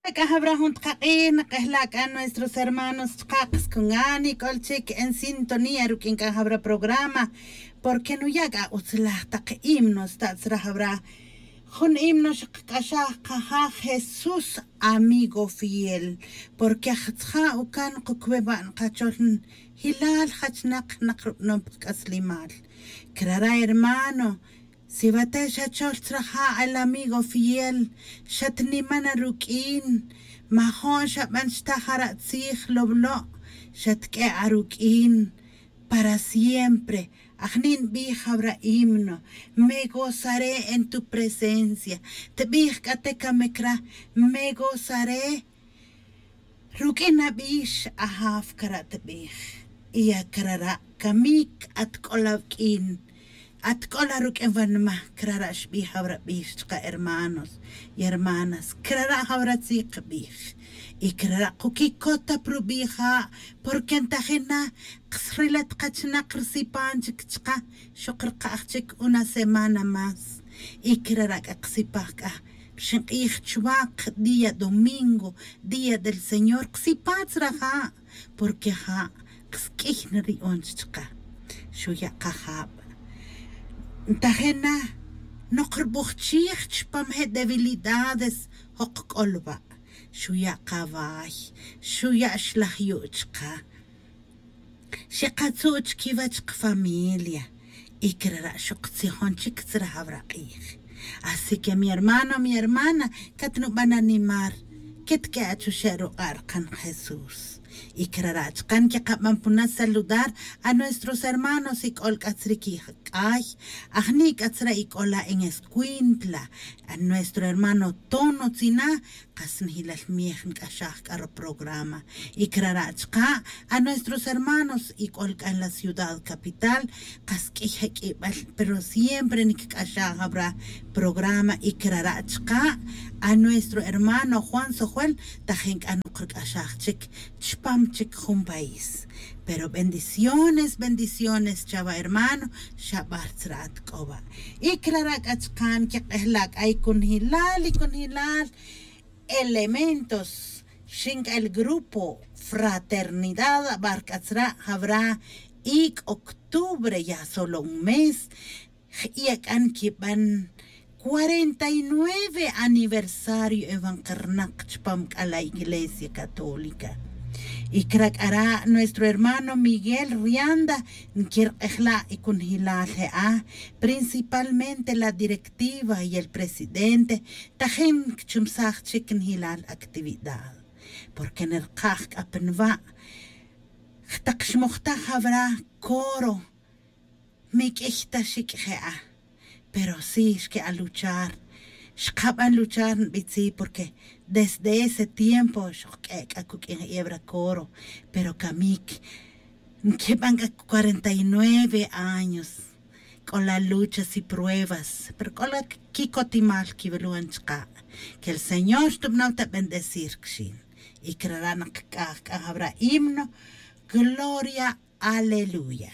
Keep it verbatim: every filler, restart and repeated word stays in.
C'a jawra jun takak'ij nak'ejla' c'a nuestros hermanos chaka' kas cungan ic'ol chic en sintonía ruq'uin c'a jawra programa. Porque nuya' c'a utzlaj tak himno sta' tzra jawra. Jun himno xakac'axaj kaja jesús, amigo fiel. Porque jatzja' ucan kucube ba' nkachol jilal jachnak nak rubanom pa kac'aslimal. Crara' hermano, si wate' xachol tzra ja' el amigo fiel, xatnimana ruq'uin. Majo'n xaban chta jara' tzij lowlo', xatq'ue' aruq'uin para siempre. Ajni' nbij jawra himno, me gozaré en tu presencia. Tbij c'a te camic ra, me gozaré. Ruq'uin abix ajaf cara' tbij. Y ya crara' camic atc'ol awq'uin, atc'ol aruq'uin wanma. Crara' xbij jawra bix chaka' hermanos y hermanas. Crara' jawra tzij kbij. Y crara' kuquicot ta pa rubija'. Porque ntajin na kas rilat kachinak rsipan chic chaka'. Xok rkaj chic una semana más. Y crara' c'a ksipaj c'a xink'ij chuwak día domingo, día del señor ksipaj tzra ja'. Porque ja' kas q'uiy nri'on chaka'. Xuya' kajab. Ntajin na, nok rbujchij chupam je debilidades jok c'ol wa'. Xuya' kaway, xuya' xlaj yu' chaka'. Xikatzu' chiquiwech kafamilia. Y crara' xok tzijon chic tzra jawra k'ij. Así que mi hermano, mi hermana, catnuban animar. Quitq'ue' achuxe' ruk'a' rkan jesús. Y crara' chaka' nquiqaban puna saludar a nuestros hermanos y c'ol c'a tzri quic'ay. Ajni' c'a tzra y c'ola en escuintla, a nuestro hermano tono tzina. Kas njilal miej nc'axaj c'a ruprograma. Y crara' chaka' a nuestros hermanos y c'ol c'a en la ciudad capital. Kas q'uiy je q'uibal pero siempre nic'axaj jawra programa. Y crara' chaka' a nuestro hermano juan sojuel, tajin c'a nok rc'axaj chic chupam chic jun país. Pero bendiciones, bendiciones chawa hermano. Xabar tzra atc'owa'. Y crara' c'a chaka' nquik'ejla' c'a y cunjilal y cunjilal elementos. Xinc'el grupo fraternidad abar c'a tzra' jawra. Ic' octubre ya solo un mes. Jiya' c'a nquiban cuarenta y nueve aniversario ewan kernak chupam c'a la iglesia católica. Y cra' c'a ra' nuestro hermano miguel rianda nquirk'ejla' y cunjilal je'a principalmente la directiva y el presidente. Tajin cchumsaj chic njilal actividad porque nirkaj c'a pa nwa'. Jtak xmojtaj jawra coro. Miq'uiy ta xic' je'a. Pero si xque'an luchar. Xkaban luchar nbitzi' porque desde ese tiempo xojq'ue' c'a cuq'uin jebra coro. Pero camic nquiban c'a cuarenta y nueve años. C'ola luchas y pruebas pero c'ola quicotimal quiwilwan chaka'. Que el señor xtubnaw ta bendecir quixin. Y crara' nak c'aj c'a jawra himno gloria aleluya.